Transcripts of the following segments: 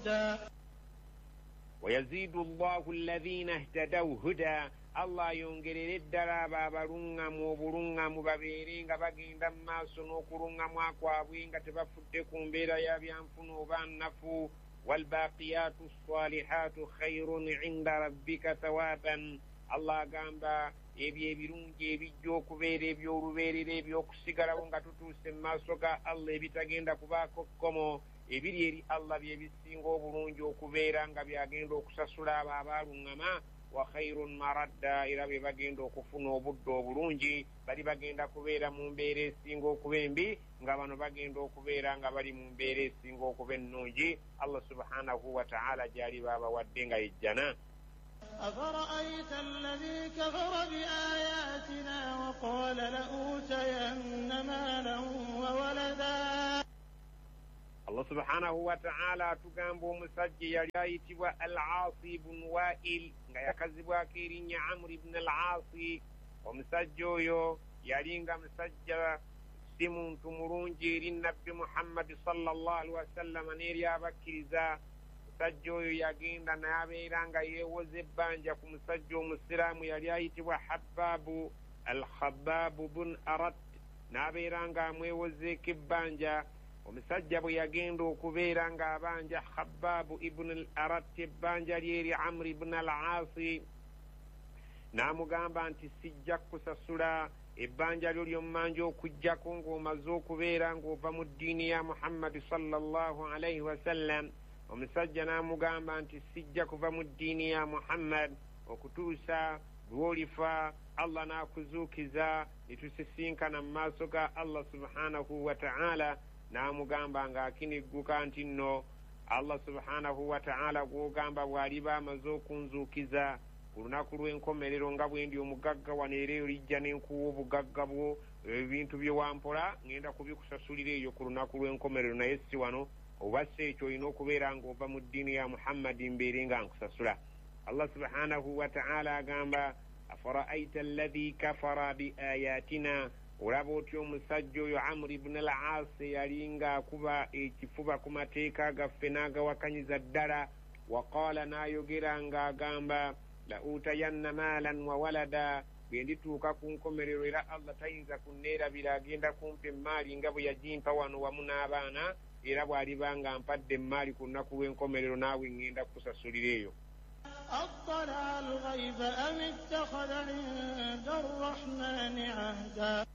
هدى. Wayaziidu llahu alladhina ihtadaw huda, Allah ayongerere ddala abo abaluŋŋamu obuluŋŋamu, babeere nga bagenda mu maaso n'okuluŋŋamwa kwabwe nga tebafudde ku mbeera ya byanfuna oba nnafu. Walbaqiyatu ssalihatu khairun inda rabbika thawaban, Allah agamba ebyo ebirungi ebijja okubeera eby'olubeerera ebyokusigalawo nga tutuuse mu maaso ga Allah ebitagenda kubaako kkomo, ebiri eri Allah bye bisinga obulungi okubeera nga byagenda okusasula abo abaaluŋŋama. Wa khairun maradda, era bwe bagenda okufuna obudde obulungi, bali bagenda kubeera mu mbeera esinga okuba embi, nga bano bagenda okubeera nga bali mu mbeera esinga okuba ennungi Allah subhanahu wa ta'ala gy'ali baabawadde nga yejjana. أفرأيت الذي كفر بآياتنا وقال لأوتين مالا وولدا. Allah subhanahu wa ta'ala atugamba omusajja yali ayitibwa Al-Aasi ibn Wail, nga yakazibwako erinnya Amr ibn Al-Aasi. Omusajja oyo yali nga musajja si muntu mulungi eri Nabbi Muhammadi sallallahu alaihi wasallama n'eri abakkiriza. Omusajja oyo yagenda n'abeera nga yeewoza ebbanja ku musajja omusiraamu yali ayitibwa Habbaabu Al-Khabbaabu bun Arat, n'abeera ng'amwewozeeko ebbanja. Omusajja bwe yagenda okubeera ng'abanja Khabbaabu ibn al-Arat ebbanja lyeri Amr ibn al-Aasi, n'amugamba nti sijja kukusasula ebbanja lyo lyommanja okuggyako ng'omaze okubeera ng'ova mu ddiini ya Muhammadi sallallahu alaihi wasallam. Omusajja n'amugamba nti sijja kuva mu ddiini ya Muhammad okutuusa lw'olifa Allah n'akuzuukiza ne tusisinkana mu maaso ga Allah subhanahu wa ta'ala. N'amugamba ng'akinigguka nti nno Allah subhanahu wa ta'ala gw'ogamba bw'aliba amaze okunzuukiza ku lunaku lw'enkomerero nga bwe ndi omugagga wano, era eyo lijja n'enkuwa obugagga bwo, ebintu bye wampola ŋŋenda kubikusasulira eyo ku lunaku lw'enkomerero, naye si wano. Oba si ekyo olina okubeera ng'ova mu ddiini ya Muhammadi mbeere nga nkusasula. Allah subhanahu wa ta'ala agamba afara'aita alladhi kafara bi ayatina, olaba otya omusajja oyo Amr ibn al-Aas yali ng'akuba ekifuba ku mateeka gaffe n'agawakanyiza ddala. Waqaala, n'ayogera ng'agamba la utayanna maalan wa walada, bwe ndituuka ku nkomerero era Allah tayinza kunneerabira, agenda kumpa emmaali nga bwe yagimpa wano wamu n'abaana, era bw'aliba nga mpadde emmaali ku lunaku lw'enkomerero naawe ŋŋenda kukusasulira eyo. أطلع الغيب أم اتخذ عند الرحمن عهدا.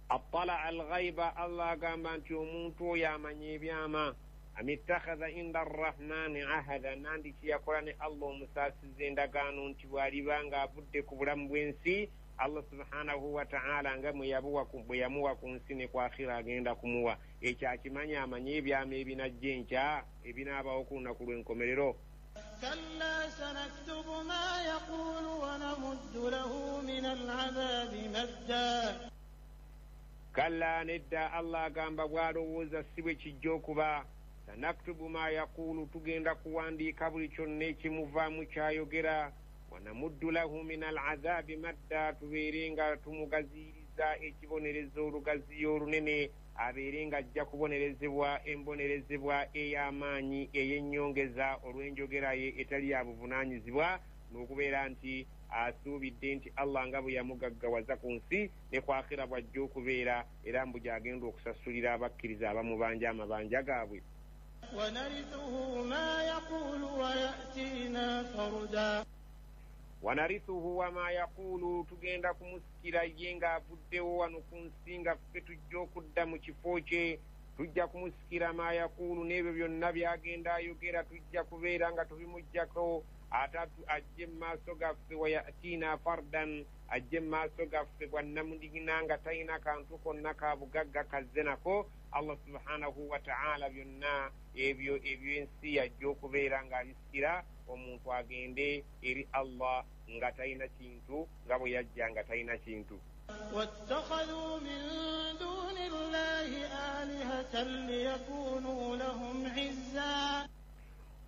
Attala alghaiba, Allah agamba nti omuntu oyo amanya ebyama. Am ittakhadha inda arrahmani ahada, nandi kiyakola ne Allah omusaasiza endagaano nti bw'aliba ng'avudde ku bulamu bw'ensi Allah subhanahu wa ta'ala nga bwe yamuwa ku nsi ne ku akhira agenda kumuwa. Ekyo akimanya, amanye ebyama ebinajja enkya ebinaabawo ku lunaku lw'enkomerero. كلا سنكتب ما يقول ونمد له من العذاب مدا. Kalla, nedda, Allah agamba bw'alowooza si bwe kijja okuba. Sanaktubu ma yaquulu, tugenda kuwandiika buli kyonna ekimuvaamu kyayogera. Wanamuddu lahu min al-adhabi madda, tubeere nga tumugaziiriza ekibonerezo olugaziyo olunene, abeere nga ajja kubonerezebwa embonerezebwa ey'amaanyi ey'ennyongeza olw'enjogera ye etali ya buvunaanyizibwa, n'okubeera nti asuubidde nti Allah nga bwe yamugaggawaza ku nsi ne ku akhira bw'ajja okubeera, era mbu gy'agenda okusasulira abakkiriza abamubanja amabanja gaabwe. ونرثه ما يقول ويأتينا فردا. Wanarithuhu wama yaquulu, tugenda kumusikira ye ng'avuddewo wano ku nsi nga ffe tujja okudda mu kifo kye, tujja kumusikira ma yaquulu n'ebyo byonna by'agenda ayogera tujja kubeera nga tubimuggyako, ate ajje mu maaso gaffe. Wayatiina fardan, ajje mu maaso gaffe bwannamundigina nga talina kantu konna ka bugagga kazze nako. Allah subhanahu wa ta'ala byonna ebyo ebyensi yajja okubeera ng'abisikira omuntu agende eri Allah nga talina kintu, nga bwe yajja nga talina kintu. واتخذوا من دون الله آلهة ليكونوا لهم عزا.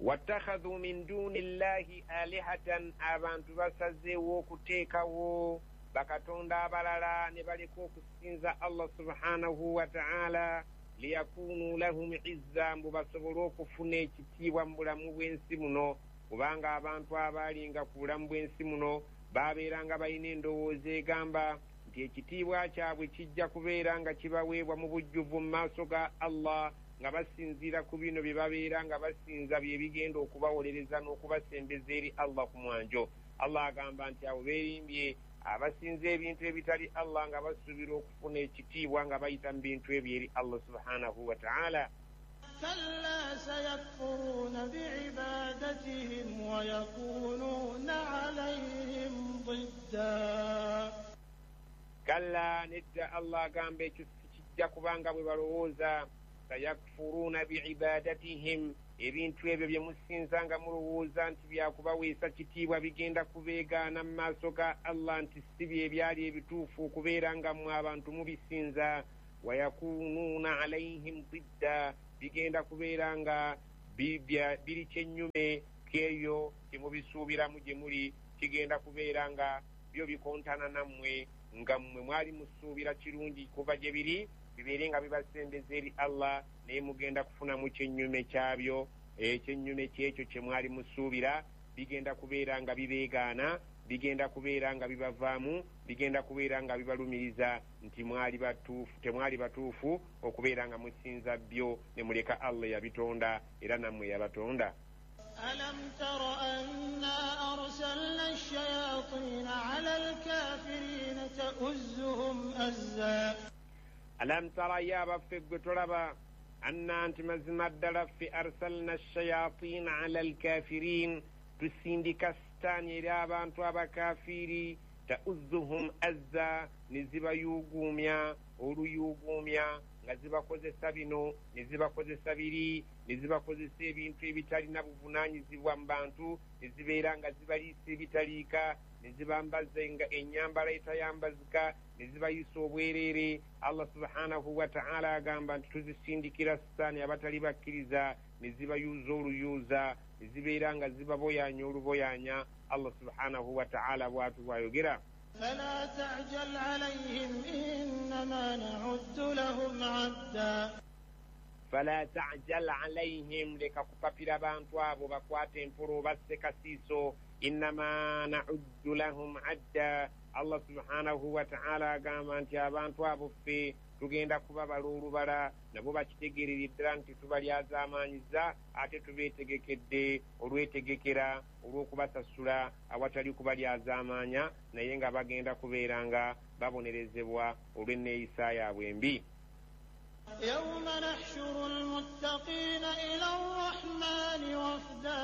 Wattakhadhu min duni llahi alihatan, abantu basazeewo okuteekawo bakatonda abalala ne baleka okusinza Allah subhanahu wa ta'ala. Liyakunuu lahum izza, mbu basobole okufuna ekitiibwa mu bulamu bw'ensi muno, kubanga abantu abaalinga ku bulamu bw'ensi muno babeeranga balina endowooza egamba nti ekitiibwa kyabwe kijja kubeera nga kibaweebwa mu bujjuvu mu maaso ga Allah, nga basinziira ku bino bye babeera nga basinza bye bigenda okubawolereza n'okubasembeza eri Allah ku mwanjo. Allah agamba nti abo beerimbye abasinza ebintu ebitali Allah nga basuubira okufuna ekitiibwa nga bayita mu bintu ebyo eri Allah subhanahu wa ta'ala. Kalla sayakfuruna biibadatihim wa yakununa alayhim didda. Kalla, nedda. Allah agamba ekyo sikijja kubanga bwe balowooza. Sayakfuruna biibadatihim, ebintu ebyo bye musinza nga mulowooza nti byakubaweesa kitiibwa bigenda kubeegaana mu maaso ga Allah nti si bye byali ebituufu okubeera nga mmwe abantu mubisinza. Wayakunuuna alaihim didda, bigenda kubeera nga biri kyennyume kyeyo kyemubisuubiramu gye muli, kigenda kubeera nga byo bikontana nammwe, nga mmwe mwali musuubira kirungi kuva gye biri bibeere nga bibasembeza eri Allah, naye mugenda kufunamu kyennyume kyabyo, ekyennyume kyekyo kye mwali musuubira. Bigenda kubeera nga bibeegaana, bigenda kubeera nga bibavaamu, bigenda kubeera nga bibalumiriza nti mwali batuufu, temwali batuufu okubeera nga musinza byo ne muleka Allah yabitonda era nammwe yabatonda. Alam tara anna arsalna ash-shayatina ala al-kafirina ta'uzzuhum azza. Alam tara, ya baffe gwe tolaba, anna nti mazima ddala ffe arsalna ash-shayatina ala al-kafirin, tusindika sitaani eri abantu abakafiiri, ta'uzzuhum azza, ne zibayuuguumya oluyuuguumya, nga zibakozesa bino ne zibakozesa biri, ne zibakozesa ebintu ebitalina buvunaanyizibwa mu bantu, ne zibeera nga zibaliisa ebitaliika, ne zibambaza ennyambala etayambazika, ne zibayisa obwereere. Allah subhanahu wa ta'ala agamba nti tuzisindikira sitaani abatali bakkiriza, ne zibayuuza oluyuuza, ne zibeera nga zibaboyanya oluboyanya. Allah subhanahu wa ta'ala bw'atyo bw'ayogera. Fala ta'jal alayhim innama na'uddu lahum 'adda. Fala ta'jal alayhim, leka kupapira bantu abo bakwate empulo basse kasiiso. Innama na'uddu lahum 'adda. Allah subhanahu wa ta'ala agamba nti abantu abo ffe tugenda kubabala olubala, nabo bakitegeerera ddala nti tubalyazaamaanyiza, ate tubeetegekedde olwetegekera olw'okubasasula awatali kubalyazaamaanya, naye nga bagenda kubeera nga babonerezebwa olw'enneeyisa yaabwe embi. Yawma nahshuru al-muttaqiina ila ar-rahmaani wafda.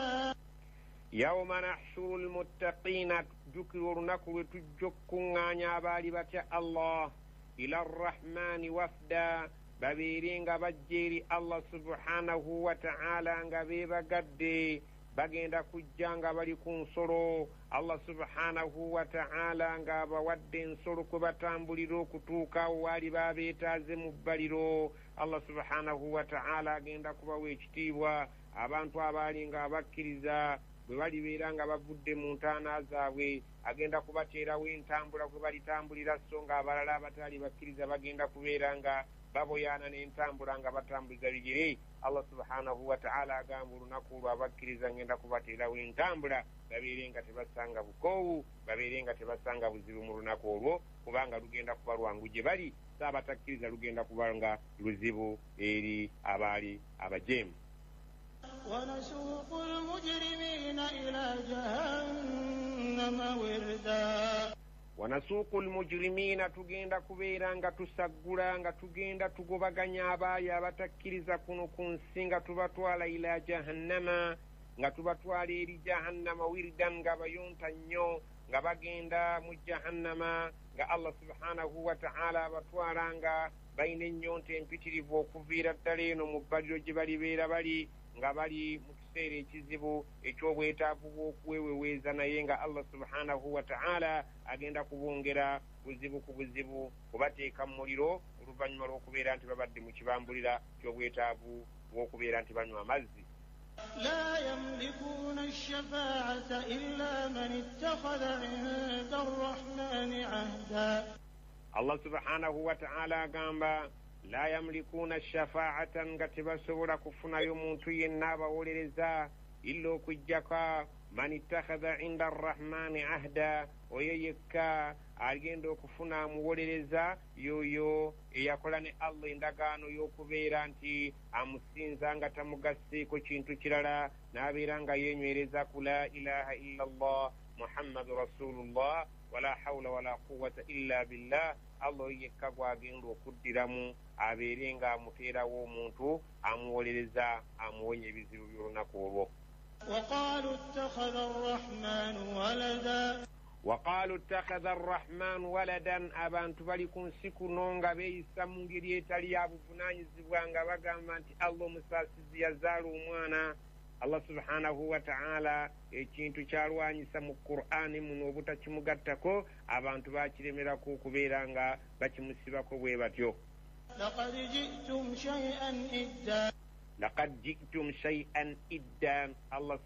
Yawma nahshuru al-muttaqiina, jjukira olunaku lwe tujja okukuŋŋaanya abaali batya Allah, ila arrahmani wafda, babeere nga bajja eri Allah subhanahu wa ta'ala nga beebagadde, bagenda kujja nga bali ku nsolo. Allah subhanahu wa ta'ala ng'abawadde ensolo kwe batambulira okutuuka awo waali babeetaaze mu bbaliro. Allah subhanahu wa ta'ala agenda kubawa ekitiibwa abantu abaali nga abakkiriza bwe balibeera nga bavudde mu ntaana zaabwe, agenda kubateerawo entambula kwe balitambulira, so nga abalala abatali bakkiriza bagenda kubeera nga baboyaana n'entambula nga batambuza bigere. Allah subhanahu wa ta'ala agamba olunaku olwo abakkiriza ngenda kubateerawo entambula, babeere nga tebasanga bukoowu, babeere nga tebasanga buzibu mu lunaku olwo, kubanga lugenda kuba lwangu gye bali, so abatakkiriza lugenda kuba nga luzibu eri abaali abajeemu. ونسوق المجرمين إلى جهنم وردا. Wanasuuku almujrimiina, tugenda kubeera nga tusaggula, nga tugenda tugobaganya abaayo abatakkiriza kuno ku nsi, nga tubatwala ila jahannama, nga tubatwala eri jahannama wirdan, nga bayonta nnyo, nga bagenda mu jahannama, nga Allah subhanahu wa ta'ala abatwala nga balina ennyonta empitirivu okuviira ddala eno mu bbaliro gye balibeera bali, nga bali mu kiseera ekizibu eky'obwetaavu bw'okweweweeza, naye nga Allah subhanahu wa ta'ala agenda kubongera buzibu ku buzibu, kubateeka mu muliro oluvannyuma lw'okubeera nti babadde mu kibambulira ky'obwetaavu bw'okubeera nti banywa amazzi. La yamlikuna ash-shafa'ata illa man ittakhadha 'inda ar-rahmani 'ahda. Allah subhanahu wa ta'ala agamba La yamlikuuna shafaatan, nga tebasobola kufunayo muntu yenna abawolereza, illa okuggyako man ittakhadha inda arrahmani ahda, oyo yekka agenda okufuna amuwolereza yoyo eyakola ne Allah endagaano y'okubeera nti amusinza nga tamugasseeko kintu kirala, n'abeera nga yeenywereza ku la ilaha illa llah Muhammadu rasulullah wala hawula wala quwata illa billah. Allah oyo yekka gwagenda okuddiramu abeere nga amuteerawo omuntu amuwolereza amuwonya ebizibu by'olunaku olwo. وقالوا اتخذ الرحمن ولدا. Waqaalu ittakhadha arrahmanu waladan. Abantu bali ku nsi kuno nga beeyisa mu ngeri etali ya buvunaanyizibwa, nga bagamba nti Allah omusaasizi yazaala omwana. Allah subhanahu wa ta'ala ekintu kyalwanyisa mu Qur'ani muno obutakimugattako, abantu bakiremerako okubeera nga bakimusibako bwe batyo. لقد جئتم شيئا إدا. Laqad jitum shay'an idda. Allah.